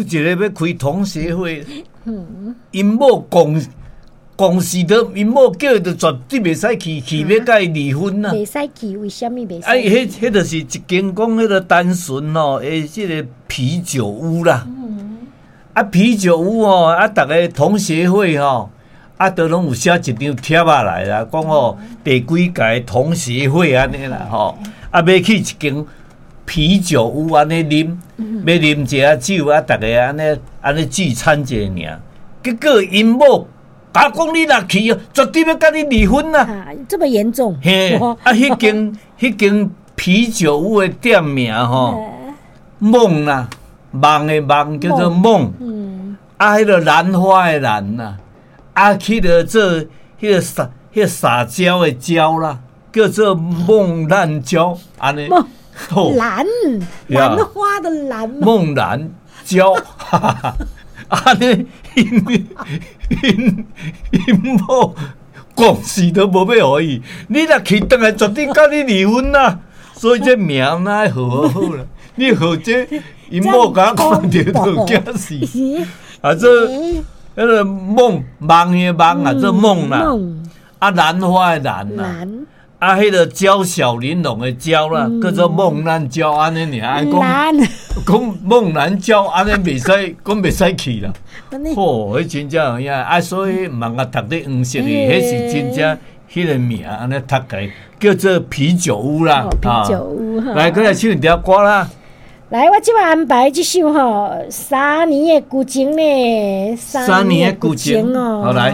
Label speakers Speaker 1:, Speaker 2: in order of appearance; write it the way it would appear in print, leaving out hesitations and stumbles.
Speaker 1: 有一个欲開同學會，𪜶某公公司都𪜶某叫伊就絕對袂使去，去欲共伊離婚啦。
Speaker 2: 袂使去，為啥物袂使？
Speaker 1: 啊，彼就是一間講彼個單純吼，的這個啤酒屋啦。啊，啤酒屋吼，啊，逐个同學會吼，啊，都攏有寫一張帖仔來啦，講吼第幾屆同學會按呢啦吼，啊，欲去一間啤酒屋按呢啉，欲啉一下酒啊，逐个按呢按呢聚餐一下爾。結果𪜶某共講你若去哦，絕對欲共你離婚啦。
Speaker 2: 啊，這麼嚴重？
Speaker 1: 嘿，啊，彼間啤酒屋的店名吼，夢啦，夢的夢叫做夢。啊，彼個蘭花的蘭啦，啊，彼個做彼個撒彼個撒嬌的嬌啦，叫做夢蘭嬌，按呢。
Speaker 2: 蘭蘭花的蘭。
Speaker 1: 夢蘭嬌，按呢，𪜶𪜶𪜶某公司都無欲予伊，你若去轉來絕對共你離婚啦。所以這名哪愛號好好啦，你號這𪜶某共看著就驚死。啊，這彼個夢夢的夢啊，做夢啦，啊，蘭花的蘭啦，啊，彼個嬌小玲瓏的嬌啦，叫做夢蘭嬌按呢爾，按講講夢蘭嬌按呢袂使，講袂使去啦。吼，彼真正有影，啊，所以毋通共讀咧黃色的，彼是真正彼個名按呢讀起來，叫做啤酒屋啦。
Speaker 2: 啤酒屋。
Speaker 1: 來，閣來唱一條歌啦。
Speaker 2: 來，我這擺安排這首吼，三年的舊情呢，
Speaker 1: 三年的舊情哦。好來。